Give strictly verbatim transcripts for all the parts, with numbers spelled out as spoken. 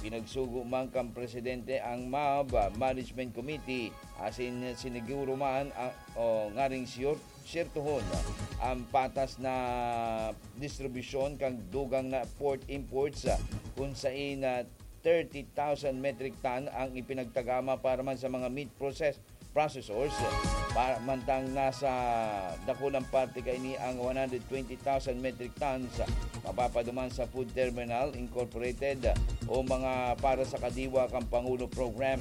Pinagsugo man kan presidente ang MAB Management Committee, asin siniguro man ang, o, ngaring siyor-, siyertohon ang patas na distribusyon kan dugang na pork imports, kun saen na thirty thousand metric ton ang ipinagtagama para man sa mga meat process processors. Para mantang nasa dakulang parte kaini ang one hundred twenty thousand metric tons mapapaduman sa Food Terminal Incorporated o mga para sa Kadiwa kan Pangulo Program.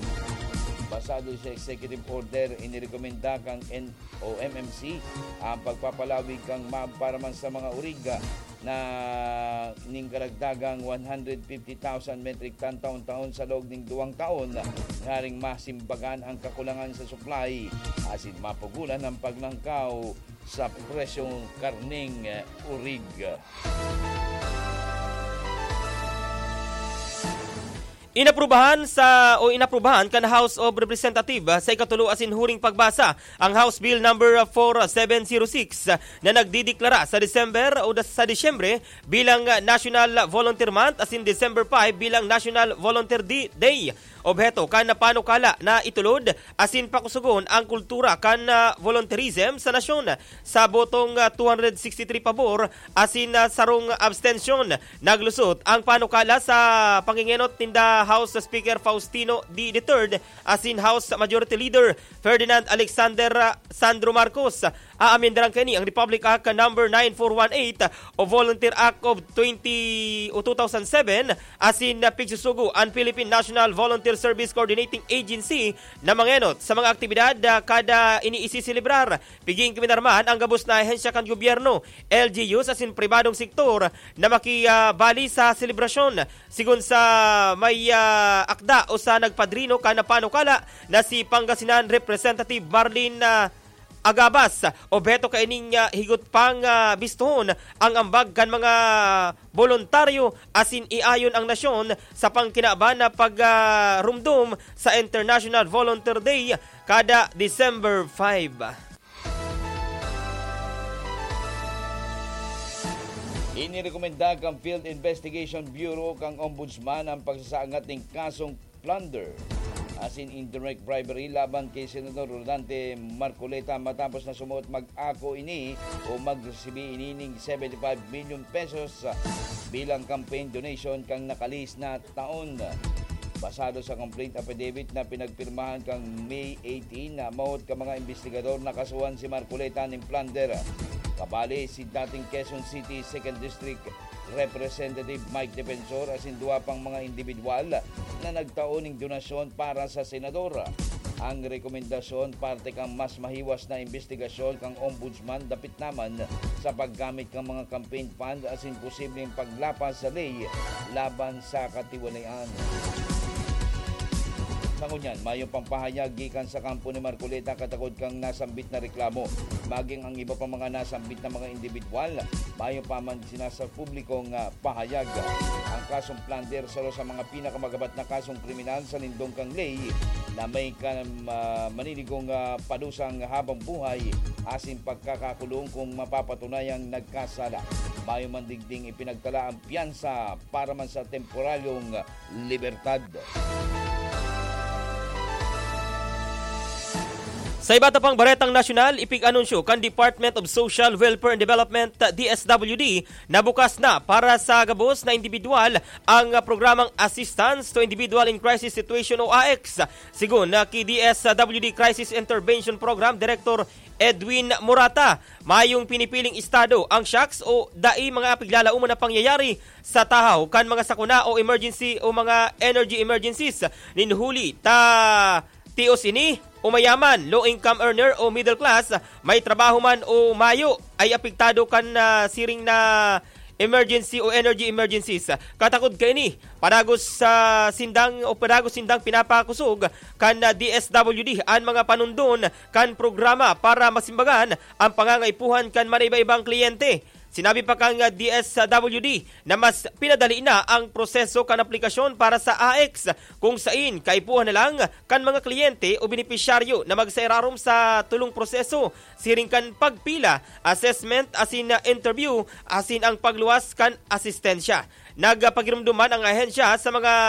Basado sa executive order, inirekomenda kan N-, o M M C ang pagpapalawig kan MAB para man sa mga urig na ning karagdagang one hundred fifty thousand metric ton taon-taon sa loob ning duwang taon, ngaring masimbagan ang kakulangan sa supply asin mapugulan ang paglangkaw sa presyong karneng urig. Inaprubahan sa, o inaprubahan kan House of Representative sa ikatulo asin huring pagbasa ang House Bill number four seven zero six na nagdideklara sa December o da-, sa Disyembre bilang National Volunteer Month asin December five bilang National Volunteer Di-, Day. Obheto kan panukala na itulod asin pakusugon ang kultura kan, ah, volunteerism sa nasyon. Sa botong, ah, two hundred sixty-three pabor asin, ah, sarong abstensyon, naglusot ang panukala sa pangengenot ninda House Speaker Faustino D the third asin House Majority Leader Ferdinand Alexander, ah, Sandro Marcos. Aamendaran kaini ang Republic Act number nine four one eight o Volunteer Act of twenty o two thousand seven, asin na pigsusugo an Philippine National Volunteer Service Coordinating Agency na mangenot sa mga aktibidad, ah, kada iniisiselebrar. Piging kuminarman ang gabos na ahensya kan gobyerno, L G Us asin pribadong sektor na makibali sa selebrasyon. Sigon sa may, ah, akda o sa nagpadrino kan panukala na si Pangasinan Representative Marlene, ah, Agabas, obheto kaining, ah, higot pang, ah, bistohon ang ambag kan mga boluntaryo asin iayon ang nasyon sa pangkinaban na pag, ah, rumdom sa International Volunteer Day kada December five. Inirekomenda kan Field Investigation Bureau kan Ombudsman ang pagsasangat nin kasong plunder asin indirect bribery laban ki Senador Rodante Marcoleta matapos na sumuot mag-ako ini o magresibi ini nin seventy-five million pesos bilang campaign donation kan nakalihis na taon. Basado sa complaint affidavit na pinagpirmahan kan May eighteen, namawot kan mga imbestigador na kasuhan si Marcoleta nin plunder. Kabali si dating Quezon City Second District Representative Mike Defensor asin duwa pang mga indibidwal na nagtao nin donasyon para sa senador. Ang rekomendasyon parte kan mas mahiwas na imbestigasyon kan Ombudsman dapit naman sa paggamit kan mga campaign fund asin posibleng paglapas sa ley laban sa katiwalian. Sa ngunyan, mayong pang pahayag gikan sa kampo ni Marcoleta katakod kan nasambit na reklamo. Maging ang iba pang mga nasambit na mga indibidwal, mayo pa man sinasa publikong, ah, pahayag. Ang kasong plunder saro sa mga pinakamagabat na kasong kriminal sa lindong kan ley na may kan-, ah, maninigong, ah, padusang habang buhay asin pagkakakulong kung mapapatunayang nagkasala. Mayo man digding ipinagtala ang piyansa para man sa temporaryong libertad. Sa iba ta pang baretang nasyonal, ipig-anunsyo kan Department of Social Welfare and Development, D S W D, na bukas na para sa gabos na indibidwal ang programang Assistance to Individual in Crisis Situation o AICS. Sigon na ki D S W D Crisis Intervention Program Director Edwin Morata, mayong pinipiling estado ang shocks o dai mga piglalaoman na pangyayari sa tahaw kan mga sakuna o emergency o mga energy emergencies nin huli ta tios ini o mayaman, low income earner o middle class, may trabaho man o mayo, ay apektado kan, ah, siring na emergency o energy emergencies. Katakod kaini, padagos sa sindang o padagos sindang pinapakusog kan, ah, D S W D an mga panundon kan programa para masimbagan ang pangangaipuhan kan manaiba-ibang kliyente. Sinabi pa kan, ah, D S W D na mas pinadali na ang proseso kan aplikasyon para sa AICS, kung sain kaipuhan na lang kan mga kliyente o benepisyaryo na magsairarom sa tulong proseso, siring kan pagpila, assessment asin, ah, interview, asin ang pagluwas kan asistensya. Nagpagirumdom man ang ahensya sa mga